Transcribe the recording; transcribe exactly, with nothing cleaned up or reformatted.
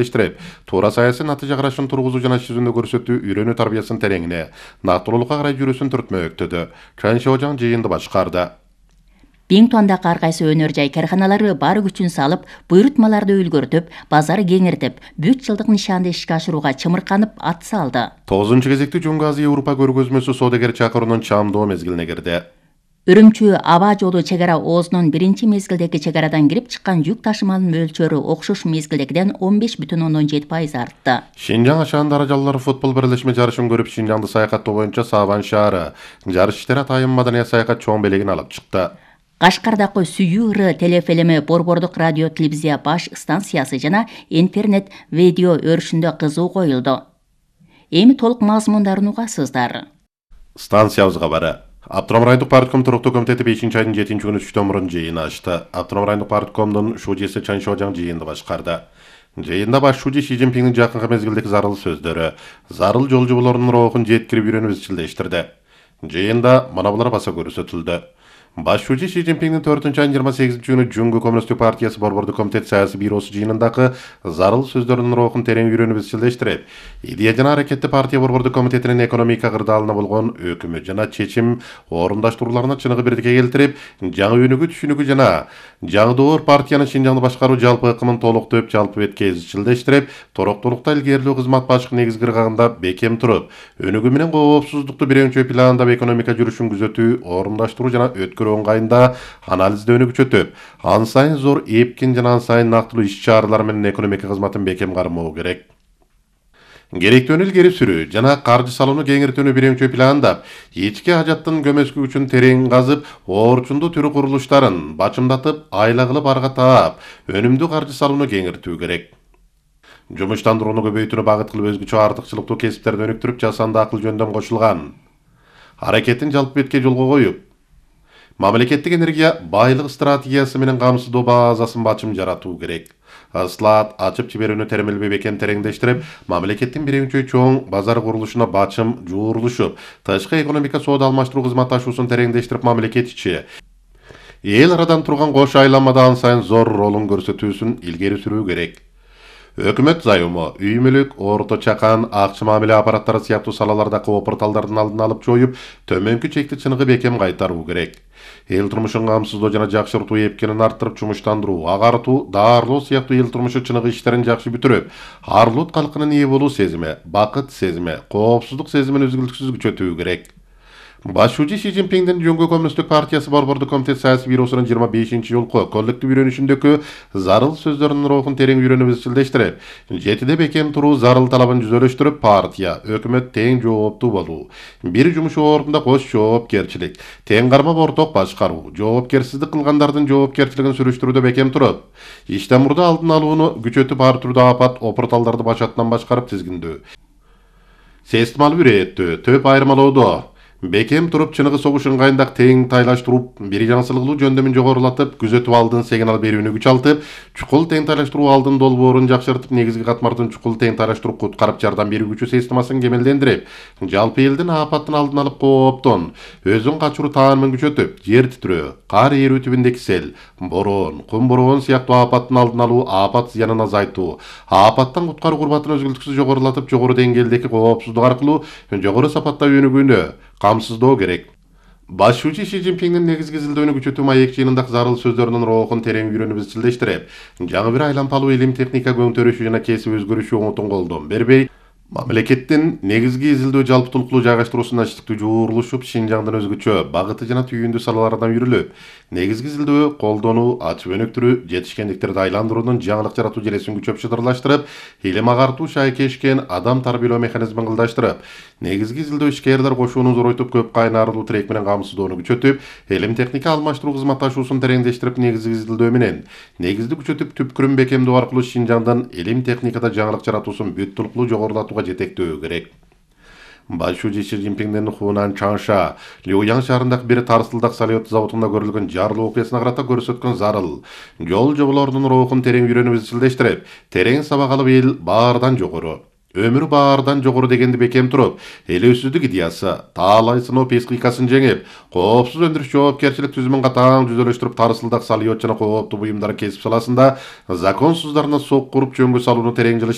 иштирip, туура саясий натыйжа карашын тургузуу жана жүзүндө көрсөтүү үйрөнүү тарбиясынын тереңине, нактылуулукка карай жүрүүсүн түртмөктөдү. Чан Шожаң жыйынды башкарды. Биңтуандагы ар кайсы өнөр жай карканалары бар күчүн салып, буйрутмаларды үлгөртүп, базар кеңиртип, бүт жылдык нишанды ишке ашырууга чымырканып ат салды. тогузунчу кезекти Жуңгу Азия Европа көргөзмөсү соодагер чакыруунун чамдоо мезгилине кирди. Үрүмчү аба жолу чек ара оозунун биринчи мезгилдеги чек арадан кирип чыккан жүк ташыманын мөлчөрү окшош мезгилдегиден он беш бүтүн ондон жети пайыз артты. Шинжаң Ашан даражалуулар футбол бирлешме жарышын көрүп, Шинжаңды саякаттоо боюнча Сабан шаары жарыш иштери атайын маданий саякат чоң белегин алып чыкты. Кашкардагы Сүйүры телефилими Борбордук радио телевизия баш станциясы жана интернет видео өрүшүндө кызуу коюлду. Эми толук мазмундарын угасыздар. Станциябызга бары. Автоном райондук партком туруктуу комитети бешинчи айдын жетинчи күнү түштөн мурун жыйын ачты. Автоном райондук парткомдун шужесі Чан Шожаң жыйынды башкарды. Жыйында баш шужи Си Цзиньпиндин жакынкы мезгилдеги зарыл сөздөрү, зарыл жол жоболорунун рухун жеткирип үйрөнүп изчилдештирди. Жыйында мына булар баса көрсөтүлдү. Баш шужи Си Цзиньпиндин төртүнчү айдын жыйырма сегизинчи күнү Жуңгу Коммунисттик партиясы Борбордук комитет саясий бюросу жыйынындагы зарыл сөздөрүнүн рухун терең үйрөнүп изчилдештирип, идея жана аракетти партия Борбордук комитетинин экономика кырдаалына болгон өкүмү жана чечим орундаштырууларына чыныгы бирдикке келтирип, жаңы өнүгүү түшүнүгү жана жаңдоор партиянын Шинжаңды башкаруу жалпы ыкымын толуктоп, жалпы бетке изчилдештирип, тороктуулукта илгерилүү кызмат башкы негизги ыргагында бекем туруп, өнүгүү менен коопсуздукту биринчи планда экономика жүрүшүн күзөтүү, орундаштыруу жана өткөрүү оңгайында анализдөөнү күчөтүп, ан сайын зор эпкин жана ан сайын нактылуу иш-чаралар менен экономика кызматын бекем кармоо керек. Керектүүнү илгери сүрүү жана каржы салууну кеңиртүүнү биринчи пландап, ички ажаттын көмөскү үчүн терең казып, орчундуу түрү курулуштарын бачымдатып, айла кылып арга таап, өнүмдүү каржы салууну кеңиртүү керек. Жумуштандырууну көбөйтүүнү багыт кылып, өзгөчө артыкчылыктуу кесиптерди өнүктүрүп, жасанды акыл жөндөм кошулган аракеттин жалпы бетке жолго коюп, мамлекеттик энергия байлык стратегиясы менен камсыздоо базасын бачым жаратуу керек. Ыслаат ачып жиберүүнү теремелбей бекем тереңдештирип, мамлекеттин биринчи чоң базар курулушуна бачым жуурулушуп, тышкы экономика соода алмаштыруу кызматташуусун тереңдештирип, мамлекет ичи эл арадан турган кош айланмада ан сайын зор ролун көрсөтүүсүн илгери сүрүү керек. Өкмөт займы, үй мүлүк, орто чакан, акча мамиле аппараттары сыяктуу салалардагы опурталдардын алдын алып жоюп, төмөнкү чекти чыныгы бекем кайтаруу керек. Эл турмушун камсыздоо жана жакшыртуу эпкенин арттырып, жумуштандыруу, агартуу, даарылоо сыяктуу эл турмушу чыныгы иштерин жакшы бүтүрүп, арлут калкынын ээ болуу сезими, бакыт сезими, коопсуздук сезимин үзгүлтүксүз күчөтүү керек. Баш шужи Си Цзиньпиндин Жуңгу Коммунисттик партиясы Борбордук комитет саясий бюросунун жыйырма бешинчи жолку коллектив үйрөнүшүндөгү зарыл сөздөрүнүн рухун терең үйрөнүп изчилдештирип, жетиде бекем туруу зарыл талабын жүзөлөштүрүп, партия, өкмөт тең жооптуу болуу, бир жумуш ордунда кош жоопкерчилик, тең кармап орток башкаруу, жоопкерсиздик кылгандардын жоопкерчилигин сүрүштүрүүдө бекем туруп, иштен мурда алдын алууну күчөтүп, ар түрдүү апат, опурталдарды башатынан башкарып тизгиндөө, системалуу ирээттөө, төп айырмалоодо бекем туруп, чыныгы согуш ыңгайындагы тең тайлаштырууп, бир жаңсылыгылуу жөндөмүн жогорулатып, күзөтүп алдын сигнал берүүнү күч алтып, чукул тең тайлаштыруу алдын долбоорун жакшыртып, негизги катмардын чукул тең тайлаштыруу куткарып жардам берүү күчү системасын кемелдендирип, жалпы элдин апаттын алдын алып, кооптон өзүн качыруу таанымын күчөтүп, жер титирөө, кар эрүү түбүндөгү сел, бороон, кум бороон сыяктуу апаттын алдын алуу, апат зыянын азайтуу, апаттан куткаруу курбатын өзгүлтүксүз жогорулатып, жогору деңгээлдеги коопсуздук аркылуу жогору сапатта өнүгүүнү камсыздоо керек. Баш шужи Си Цзиньпиндин негизги изилдөөнү күчөтүү маек жыйынындагы зарыл сөздөрүнүн рухун терең үйрөнүп изчилдештирип, жаңы бир айланпалуу илим техника көңтөрүшү жана кесип өзгөрүшү оңотун колдон бербей, мамлекеттин негизги изилдөө жалпытуулуктуу жайгаштыруусуна ачыктуу жуурулушуп, Шинжаңдын өзгөчө багыты жана түйүндүү салаларынан үйрүлүп, негизги изилдөө, колдонуу, ачып өнүктүрүү, жетишкендиктерди айландыруунун жаңылык жаратуу желесин күчөп шыдырлаштырып, илим агартуу шайкешкен адам тарбиялоо механизмин кылдаштырып, негизги изилдөө ишкерлер кошууну зоройтуп, көп кайнарлуу тирек менен камсыздоону күчөтүп, илим техника алмаштыруу кызматташуусун тереңдештирип, негизги изилдөө менен негизди күчөтүп, түпкүрүн бекемдөө аркылуу Шинжаңдын илим техникада жаңылык жаратуусун бүт толуктуу жогорулатууга жетектөө керек. Баш шужи Си Цзиньпиндин Хунан Чаңша, Люян шаарындагы бир тарсылдак салют заводунда көрүлгөн жарылуу окуясына карата көрсөткөн зарыл жол жоболорунун рухун терең үйрөнүп изчилдештирип, терең сабак алып, эл баардан жогору Өмүрү баардан жогору дегенди бекем туруп, элөөсүздүк идеясы, таалай сыноо психикасын жеңип, коопсуз өндүрүш жоопкерчилик түзүмүн катаң жүзөлөштүрүп, тарсылдак салиот жана кооптуу буюмдар кесип саласында законсуздарына сокку уруп жөнгө салууну терең жылыш